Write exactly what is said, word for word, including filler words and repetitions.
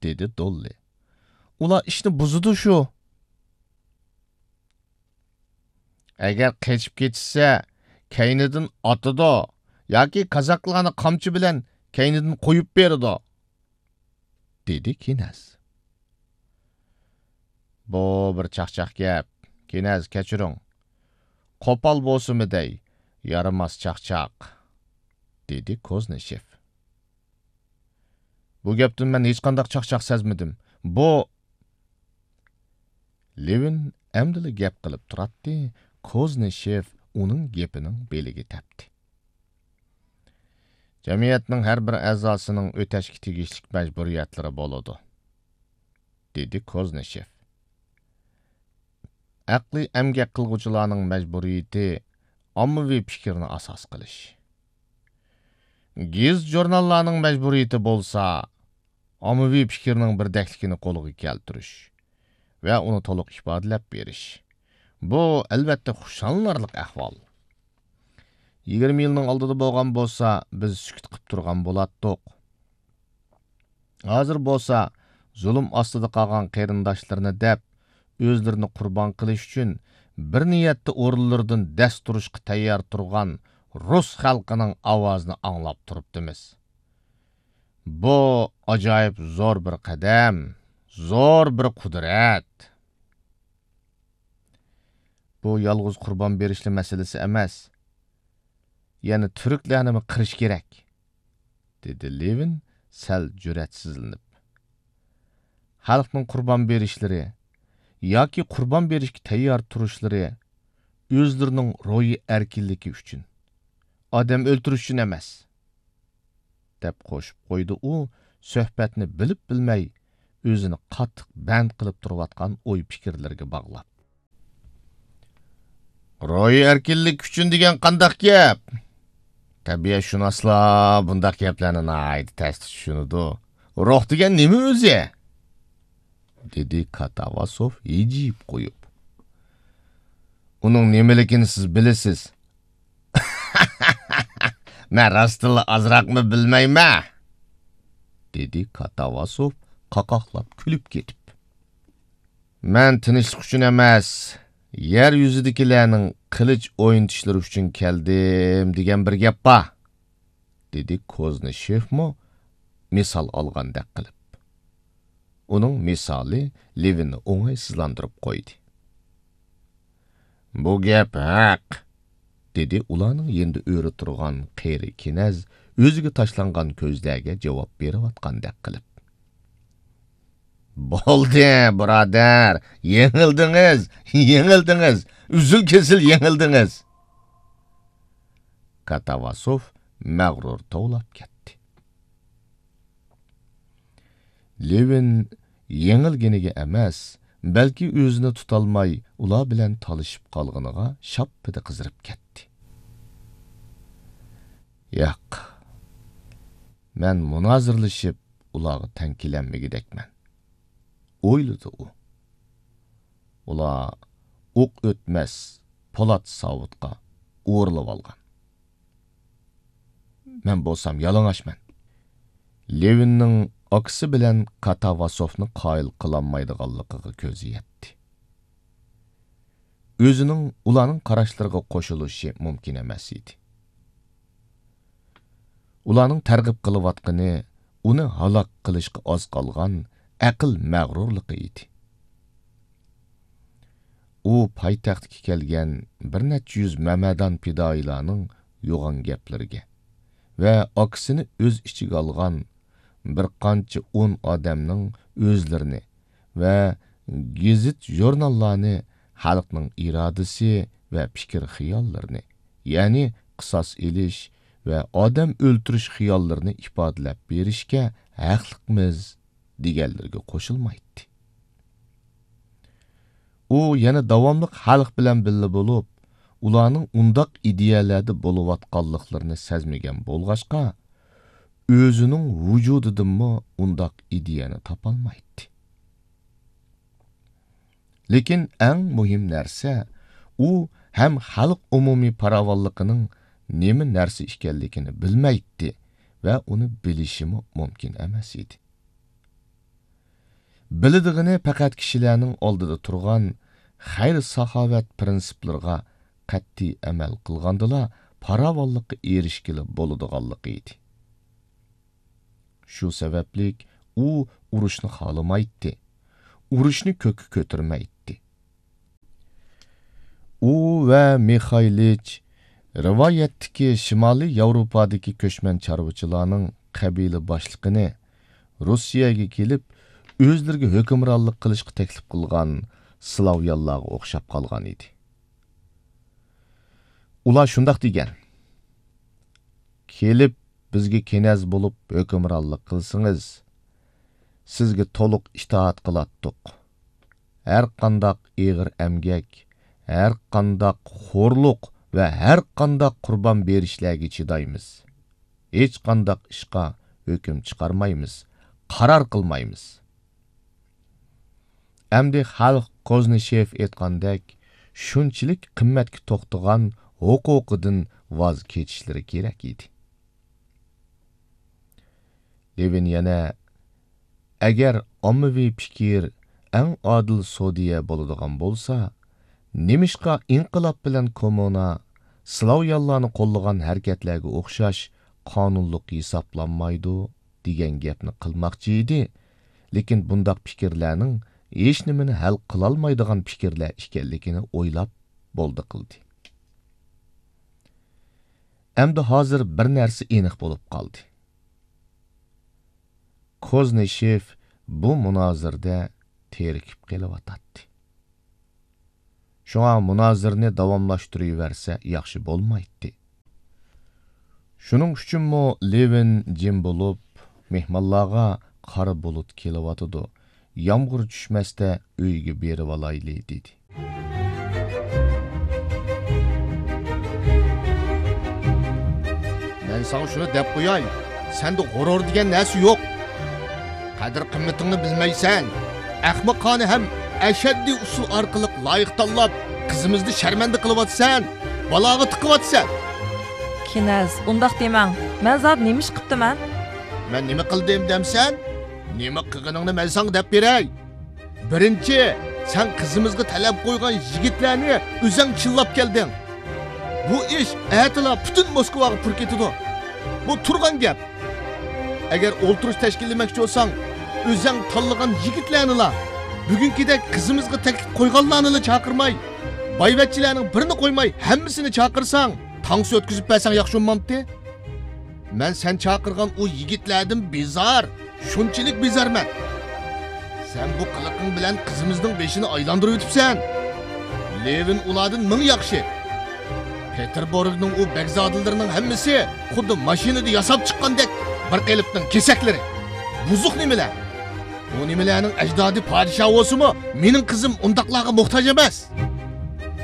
دېدى دوللى. ئۇلار ئىشنى بۇزىدۇ شۇ. ئەگەر قېچىپ كېتىشسە، كەينىدىن ئاتىدۇ ياكى كازاكلارنى قامچا بىلەن كەينىدىن قويۇپ بېرىدۇ، دېدى كىنەز. بۇ بىر چاقچاق گەپ. كىنەز، كەچۈرۈڭ. قوپال بولسىمۇ دەي، يارىماس چاقچاق، دېدى كوزنىشېف. بۇ گەپتىن مەن ھېچقانداق چاقچاق سەزمىدىم. بۇ، لېۋىن ئەمدىلا گەپ قىلىپ تۇراتتى، كوزنىشېف ئۇنىڭ گېپىنىڭ بېلىگە تەپتى. جەمئىيەتنىڭ ھەر بىر ئەزاسىنىڭ ئۆتەشكە تېگىشلىك مەجبۇرىيەتلىرى بولىدۇ، دېدى كوزنىشېف. ئەقلىي ئەمگەك قىلغۇچىلارنىڭ مەجبۇرىيىتى ئاممىۋى پىكىرنى ئاساس قىلىش. گېزىت-ژۇرناللارنىڭ مەجبۇرىيىتى بولسا، ئاممىۋى پىكىرنىڭ بىردەكلىكىنى قولغا كەلتۈرۈش ۋە ئۇنى تولۇق ئىپادىلەپ بېرىش. بۇ، ئەلۋەتتە، خۇشاللىنارلىق ئەھۋال. يىگىرمە يىلنىڭ ئالدىدا بولغان بولسا، بىز سۈكۈت قىپ تۇرغان بولاتتۇق. ھازىر بولسا، زۇلۇم ئاستىدا قالغان قېرىنداشلىرىنى دەپ، ئۆزلىرىنى قۇربان قىلىش ئۈچۈن بىر نىيەتتە ئورۇنلىرىدىن دەس تۇرۇشقا تەييار تۇرغان رۇس خەلقىنىڭ ئاۋازىنى ئاڭلاپ تۇرۇپتىمىز. بۇ ئاجايىپ زور بىر قەدەم، زور بىر قۇدرەت. بۇ يالغۇز قۇربان بېرىشلا مەسىلىسى ئەمەس. يەنە تۈركلەرنىمۇ قىرىش كېرەك، دېدى لېۋىن سەل جۈرئەتسىزلىنىپ. خەلقنىڭ قۇربان بېرىشلىرى ياكى قۇربان بېرىشكە تەييار تۇرۇشلىرى ئۆزلىرىنىڭ روھىي ئەركىنلىكى ئۈچۈن، ئادەم ئۆلتۈرۈش ئۈچۈن ئەمەس، دەپ قوشۇپ قويدى ئۇ، سۆھبەتنى بىلىپ-بىلمەي ئۆزىنى قاتتىق بەند قىلىپ تۇرۇۋاتقان ئوي-پىكىرلىرىگە باغلاپ. روھىي ئەركىنلىك ئۈچۈن دېگەن قانداق گەپ؟ تەبىئەتشۇناسلار بۇنداق گەپلەرنى ناھايىتى تەستە چۈشىنىدۇ. روھ دېگەن نېمە ئۆزى؟ دېدى كاتاۋاسوف ھىجىيىپ قويۇپ. ئۇنىڭ نېمىلىكىنى سىز بىلىسىز. مەن راستتىنلا ئازراقمۇ بىلمەيمەن، دېدى كاتاۋاسوف قاقاقلاپ كۈلۈپ كېتىپ. مەن تىنچلىق ئۈچۈن ئەمەس، يەر يۈزىدىكىلەرنىڭ قىلىچ ئوينىتىشلىرى ئۈچۈن كەلدىم دېگەن بىر گەپ بار، دېدى كوزنىشېفمۇ مىسال ئالغاندەك قىلىپ. ئۇنىڭ مىسالى لېۋىننى ئوڭايسىزلاندۇرۇپ قويدى. بۇ گەپ ھەق، دېدى ئۇلارنىڭ يېنىدا ئۆرە تۇرغان قېرى كىنەز ئۆزىگە تاشلانغان كۆزلەرگە جاۋاب بېرىۋاتقاندەك قىلىپ. بولدى، بۇرادەر، يېڭىلدىڭىز، يېڭىلدىڭىز، ئۈزۈل-كېسىل يېڭىلدىڭىز. كاتاۋاسوف مەغرۇر توۋلاپ كەتتى. لېۋىن يېڭىلگىنىگە ئەمەس، بەلكى ئۆزىنى تۇتالماي ئۇلار بىلەن تالىشىپ قالغىنىغا شاپپىدە قىزىرىپ كەتتى. ياق، مەن مۇنازىرىلىشىپ ئۇلارغا تەڭ كېلەلمىگۈدەكمەن، ئويلىدى ئۇ. ئۇلار ئوق ئۆتمەس پولات ساۋۇتقا ئورىلىۋالغان. مەن بولسام يالىڭاچمەن. لېۋىننىڭ ئاكىسى بىلەن كاتاۋاسوفنى قايىل قىلالمايدىغانلىقىغا كۆزى يەتتى. ئۆزىنىڭ ئۇلارنىڭ قاراشلىرىغا قوشۇلۇشى مۇمكىن ئەمەس ئىدى. ئۇلارنىڭ تەرغىب قىلىۋاتقىنى ئۇنى ھالاك قىلىشقا ئاز قالغان ئەقىل مەغرۇرلۇقى ئىدى. ئۇ پايتەختكە كەلگەن بىر نەچچە يۈز مەمەدان پىدائىيلارنىڭ يوغان گەپلىرىگە ۋە ئاكىسىنى ئۆز ئىچىگە ئالغان بىر قانچە ئون ئادەمنىڭ ئۆزلىرىنى ۋە گېزىت-ژۇرناللارنى خەلقنىڭ ئىرادىسى ۋە پىكىر-خىياللىرىنى، يەنى قىساس ئېلىش ۋە ئادەم ئۆلتۈرۈش خىياللىرىنى ئىپادىلەپ بېرىشكە ھەقلىقمىز دېگەنلىرىگە قوشۇلمايتتى. ئۇ يەنە داۋاملىق خەلق بىلەن بىللە بولۇپ، ئۇلارنىڭ ئۇنداق ئىدىيەلەردە بولۇۋاتقانلىقلىرىنى سەزمىگەن بولغاچقا، ئۆزىنىڭ ۋۇجۇدىدىنمۇ ئۇنداق ئىدىيەنى تاپالمايتتى. لېكىن ئەڭ مۇھىم نەرسە، ئۇ ھەم خەلق ئومۇمىي پاراۋانلىقىنىڭ نېمە نەرسە ئىكەنلىكىنى بىلمەيتتى ۋە ئۇنى بىلىشىمۇ مۇمكىن ئەمەس ئىدى. بىلىدىغىنى پەقەت كىشىلەرنىڭ ئالدىدا تۇرغان خەير-ساخاۋەت پىرىنسىپلىرىغا قەتئىي ئەمەل قىلغاندىلا پاراۋانلىققا ئېرىشكىلى بولىدىغانلىقى ئىدى. شۇ سەۋەبلىك ئۇ ئۇرۇشنى خالىمايتتى، ئۇرۇشنى كۆككە كۆتۈرمەيتتى. ئۇ ۋە مىخايلىچ رىۋايەتتىكى شىمالىي ياۋروپادىكى كۆچمەن چارۋىچىلارنىڭ قەبىلە باشلىقىنى روسىيەگە كېلىپ، ئۆزلىرىگە ھۆكۈمرانلىق قىلىشقا تەكلىپ قىلغان سلاۋيانلارغا ئوخشاپ قالغان ئىدى. ئۇلار شۇنداق دېگەن: «كېلىپ، بىزگە كېنەز بولۇپ ھۆكۈمرانلىق قىلسىڭىز، سىزگە تولۇق ئىتائەت قىلاتتۇق. ھەر قانداق ئېغىر ئەمگەك، ھەر قانداق خورلۇق ۋە ھەر قانداق قۇربان بېرىشلەرگە چىدايمىز. ھېچقانداق ئىشقا ھۆكۈم چىقارمايمىز، قارار قىلمايمىز.» ئەمدى خەلق كوزنىشېف ئېيتقاندەك شۇنچىلىك قىممەتكە توختىغان ھوقۇقىدىن ۋاز كېچىشلىرى كېرەك ئىدى. لېۋىن يەنە: «ئەگەر ئاممىۋى پىكىر ئەڭ ئادىل سودىيە بولىدىغان بولسا، نېمىشقا ئىنقىلاب بىلەن كوممۇنا سلاۋيانلارنى قوللىغان ھەرىكەتلەرگە ئوخشاش قانۇنلۇق ھېسابلانمايدۇ؟» دېگەن گەپنى قىلماقچى ئىدى، لېكىن بۇنداق پىكىرلەرنىڭ ھېچنېمىنى ھەل قىلالمايدىغان پىكىرلەر ئىكەنلىكىنى ئويلاپ بولدى قىلدى. ئەمدى ھازىر بىر نەرسە ئېنىق بولۇپ قالدى. كوزنىشېف بۇ مۇنازىرىدە تېرىكىپ قېلىۋاتاتتى. شۇڭا مۇنازىرىنى داۋاملاشتۇرۇۋەرسە ياخشى بولمايتتى. شۇنىڭ ئۈچۈنمۇ لېۋىن جىم بولۇپ، مېھمانلارغا: «قارا بۇلۇت كېلىۋاتىدۇ، يامغۇر چۈشمەستە ئۆيگە بېرىۋالايلى» دېدى. مەن ساڭا شۇنى دەپ قوياي، سەندە غۇرۇر دېگەن نەرسە يوق. قەدىر-قىممىتىڭنى بىلمەيسەن. ئەخمىقانە ھەم ئەشەددىي ئۇسۇل ئارقىلىق لايىق تاللاپ، قىزىمىزنى شەرمەندە قىلىۋاتىسەن، بالاغا تىقىۋاتىسەن. كىنەز، ئۇنداق دېمەڭ. مەن زادى نېمە ئىش قىپتىمەن؟ مەن نېمە قىلدىم دەمسەن؟ نېمە قىلغىنىڭنى مەن ساڭا دەپ بېرەي. بىرىنچى، سەن قىزىمىزغا تەلەپ قويغان يىگىتلەرنى ئۆزەڭ چىللاپ كەلدىڭ. بۇ ئىش ئەتىلا پۈتۈن موسكۋاغا پۇر كېتىدۇ. بۇ تۇرغان گەپ. ئەگەر ئولتۇرۇش تەشكىللىمەكچى بولساڭ، ئۆزەڭ تاللىغان يىگىتلەرنىلا، بۈگۈنكىدەك قىزىمىزغا تەكلىپ قويغانلارنىلا چاقىرماي، بايۋەچچىلەرنىڭ بىرىنى قويماي ھەممىسىنى چاقىرساڭ، تانسا ئۆتكۈزۈپ بەرسەڭ ياخشى بولمامتى؟ مەن سەن چاقىرغان ئۇ يىگىتلەردىن بىزار، شۇنچىلىك بىزارمەن. سەن بۇ قىلىقىڭ بىلەن قىزىمىزنىڭ بېشىنى ئايلاندۇرۇۋېتىپسەن. لېۋىن ئۇلاردىن مىڭ ياخشى. پېتېربۇرگنىڭ ئۇ بەگزادىلىرىنىڭ ھەممىسى خۇددى ماشىنىدا ياساپ چىققاندەك بىر قېلىپنىڭ كېسەكلىرى. بۇزۇق نېمىلەر. بۇ نېمىلەرنىڭ ئەجدادى پادىشاھ بولسىمۇ، مېنىڭ قىزىم ئۇنداقلارغا موھتاج ئەمەس.